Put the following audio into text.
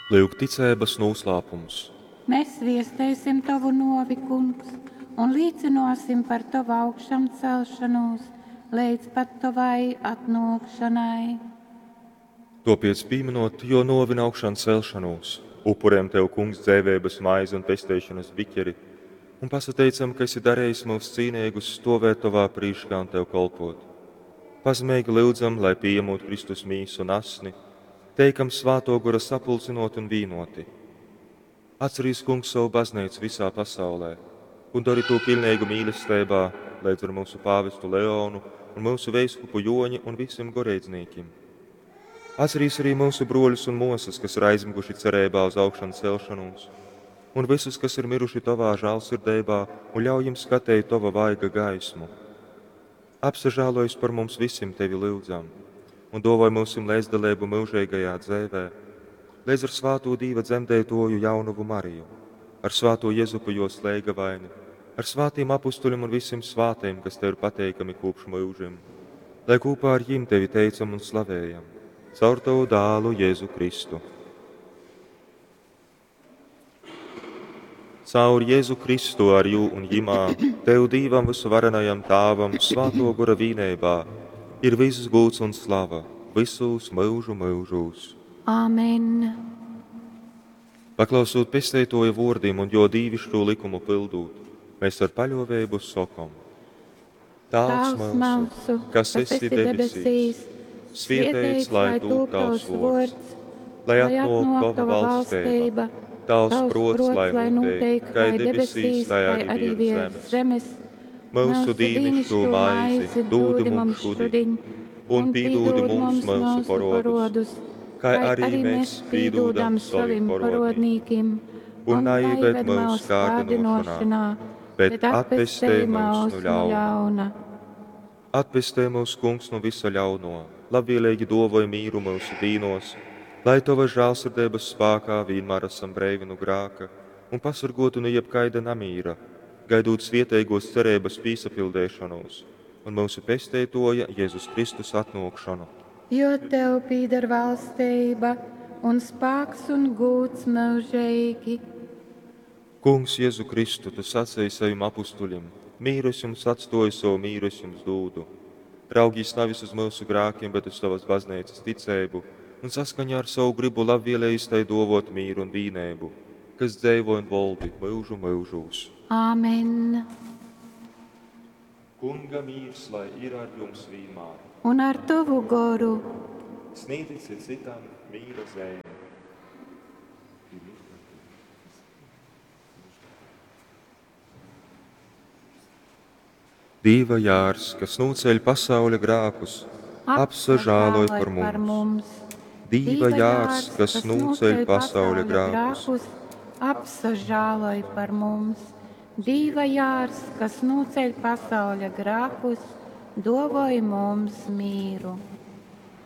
Lyuk ticeibas nūslāpums. Mes viesteisim tovu nōvi, Kungs, un līcynōsim par tovu augšamcelšonūs leidz pat tovai atnōkšonai. Tōpēc, pīmynot Jō nōvi un augšancelšonūs, upurejam Tev, Kungs, dzeiveibas maizi un pesteišonas biķeri un pasateicam, ka esi darejis myus cīneigus stōvēt Tovā prīškā un Tev kolpōt. Pazemeigi lyudzam, lai, pījamūt Kristus mīsu un asni, teikam Svātō Gora sapulcynōti un vīnōti. Atcerīs, Kungs, sovu Bazneicu visā pasaulē un dori tū piļneigu mīlesteibā leidz ar myusu pāvestu Leonu un myusu veiskupu Jōni un visim goreidznīkim. Atcerīs arī myusu brōļus un mōsas, kas ir aizmyguši cereibā uz augšancelšonūs, un visus, kas ir miruši Tovā žālsirdeibā, un ļauj jim skateit Tova vaiga gaismu. Apsažālojas par mums visim, Tevi lyudzam, un dōvoj myusim leidzdaleibu myužeigajā dzeivē, leidz ar svātū Dīva dzemdeitōju jaunovu Mariju, ar svātū Jezupu jōs leigavaini, ar svātīm apustuļim un visim svātajim, kas Tev ir pateikami kopš myužim, lai kopā ar jim Tevi teicam un slavējam, caur Tavu dālu Jēzu Kristu. Caur Jēzu Kristu ar jū un jimā, Tev Dīvam vysuvarenajam Tāvam, Svātō Gora vīneibā, ir viss gūds un slava, visūs myužu myužūs. Āmen. Paklausūt Pesteitōja vōrdim un jō dīviškū lykumu pyldūt, mēs ar paļōveibu sokom: Tāvs myusu, kas esi debesīs, svieteits lai tūp tavs vōrds, lai atnōk tova valsteiba, tavs prōts lai nūteik kai debesīs, tai arī virs zemes. Myusu dīnišķū maizi dūdi mums šudiņ, un pīdūdi mums myusu porodus, kai arī mēs pīdūdam sovim porodnīkim, un naieved myus kārdinošanā, bet atpestej myus nu ļauna. Atpestej mūs, Kungs, nu visa ļauno, labvēlīgi dōvoj mīru myusu dīnos, lai Tova žālsirdeibas spākā vienmēr esam breivi nu grāka un pasargoti nu jebkaida namīra, gaidūt svieteigos cereibas pīsapildeišonūs un myusu Pesteitoja Jēzus Kristus atnōkšonu. Jo tev pīdar valsteiba un spāks un gūds myužeigi. Kungs, Jēzu Kristu, tu sacēji savim apustuļim: mīru es jums atstoju, savu mīru es jums dūdu. Raugīs nevis uz myusu grākiem, bet uz savas bazneicas ticeibu, un saskaņā ar savu gribu labvēlējis tai dovot mīru un vīneibu, kas dzeivo un voldi myužu myužūs. Āmen. Kunga mīrs lai ir ar jums vienmēr. Un ar tavu goru. Sniedzit citam mīra zeimi. Dīva jārs, kas nūceļ pasauļa grākus, apsažāloj par par mums. mums. Dīva jārs, kas nūceļ pasauļa grākus, apsažāloj par mums. Dīva jārs, kas nūceļ pasauļa grākus, dovoj mums mīru.